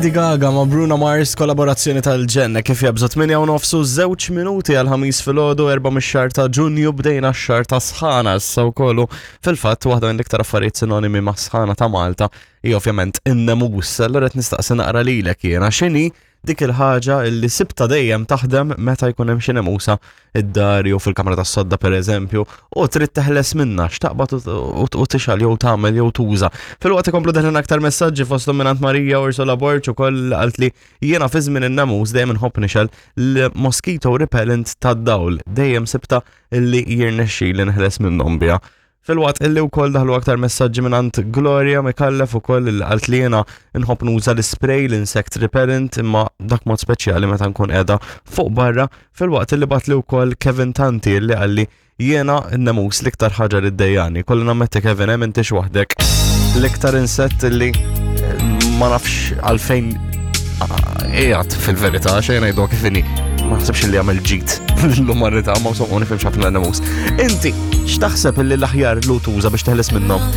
Lady Gaga ma' Bruno Mars kollaborazzjoni tal-ġenna kif jabżu 8 u nofsu żewġ minuti għal ħamis filgħodu 4 mix-xahar ta' Ġunju bdejna x-xahar ta' sħana issa wkoll fil-fatt waħda mill-iktar affarijiet sinonimi ma' sħana ta' Malta hi ovvjament in-nemus. Allura qed nistaqsi naqra lilek jiena x'inhi dik il-ħaġa li sibta dejjem taħdem meta jkun hemm xi nemusa id-dar jew fil-kamra tas-sodda pereżempju u trid teħles minnha x'taqbad u tixgħal jew tagħmel jew tuża. Filwaqt ikomplu deħlin aktar messaġġi fosthom mingħand Marija Ursula Borg ukoll qalt li jiena fi żmien in-nemus dejjem inħobb nixgħel l-mosquito repellent tad-dawl dejjem sibta li jirnexxili nħeles minnhom biha. Filwaqt illi wkoll daħlu aktar messaġġi mingħand Gloria Mikallef ukoll illi qalt li jiena nħobb nuża l-ispray l-insect repellent imma dak mod speċjali meta nkun qiegħda fuq barra filwaqt illi bagħatli wkoll Kevin Tanti illi qalli jiena n-nemus l-iktar ħaġa li ddejjani. Kolli nammetti Kevin hemm intix waħdek. L-iktar insett illi eh, ma nafx għalfejn qiegħed fil-verità xejn ngħidu kif inhi. Ma naħsibx li jagħmel ġid l-umanità ma insomma nifhimx ħafna nemus. Inti x'taħseb illi l-aħjar lu tuża biex teħles minnhom?